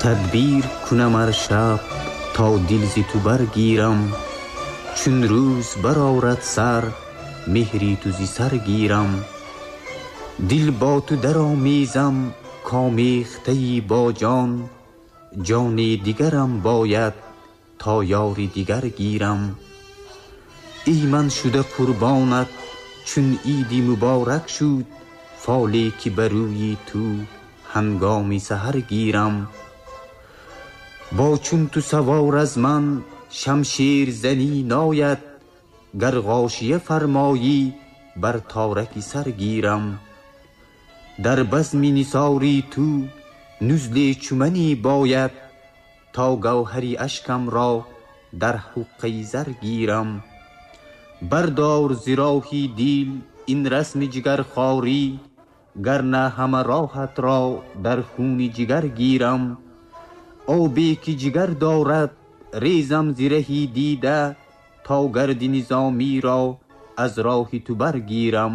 Тадбир кунам ҳар шаб то дил зи ту баргирам, чун рӯз барорад сар меҳри ту зи сар гирам. Дил бо ту даромезам комехтаи бо ҷон, ҷони дигарам бояд то ёри дигар гирам. Эй ман шуда қурбонат чун иди муборак шуд, фоле ки ба рӯи ту ҳангоми саҳар гирам. Бо чун ту савор аз ман шамшер занӣ нояд, гар ғошия фармоӣ бар тораки сар гирам. Дар базми нисори ту нузле чуманӣ бояд, то гавҳари ашкам ро дар ҳуққаи зар гирам. Бардор зи роҳи дил ин расми ҷигархорӣ, гар на ҳама роҳат ро дар хуни ҷигар гирам. Обе ки ҷигар дорад резам зи раҳи дида, то гарди низомиро аз роҳи ту баргирам.